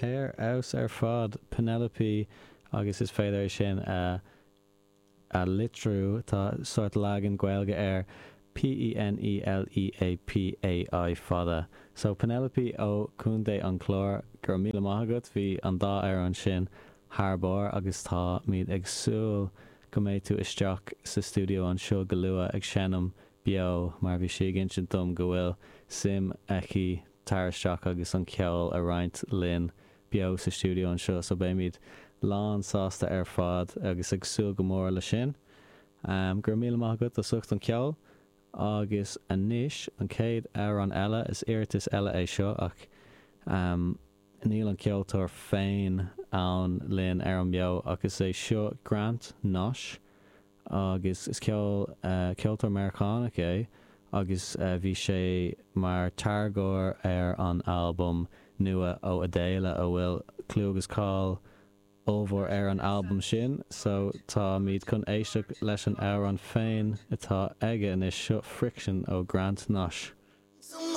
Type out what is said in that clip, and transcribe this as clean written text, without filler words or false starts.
Ar fheabhas ar fad, Penelope agus is féidir é sin a a litriú, tá sórt leagan Gaeilge air, P-E-N-E-L-E-A-P-A-I fada. So Penelope ó Chontae an Chláir, go raibh míle maith agat, bhí an dá amhrán sin thar barr agus táimid ag súil go mbeidh tú isteach sa stiúideo anseo go luath ag seinm beo mar bhí sí ag insint dom go bhfuil suim aici tar isteach agus an ceol a roinnt linn beo sa stiúideo anseo so beimid lán sásta ar fad agus ag súil go mór le sin. Go raibh míle maith agat as ucht an ceol agus anois an chéad amhrán eile, is iarratas eile é seo ach níl an ceoltóir féin ann linn ar an mbeo ach is é seo Grant Nash agus is ceol ceoltóir Meiriceánach é agus bhí sé mar táirgeoir ar an albam nua ó Adele a bhfuil clú agus cáil ollmhór ar an albam sin so táimid chun éisteacht leis an amhrán féin atá aige anois, seo Friction ó Grant Nash.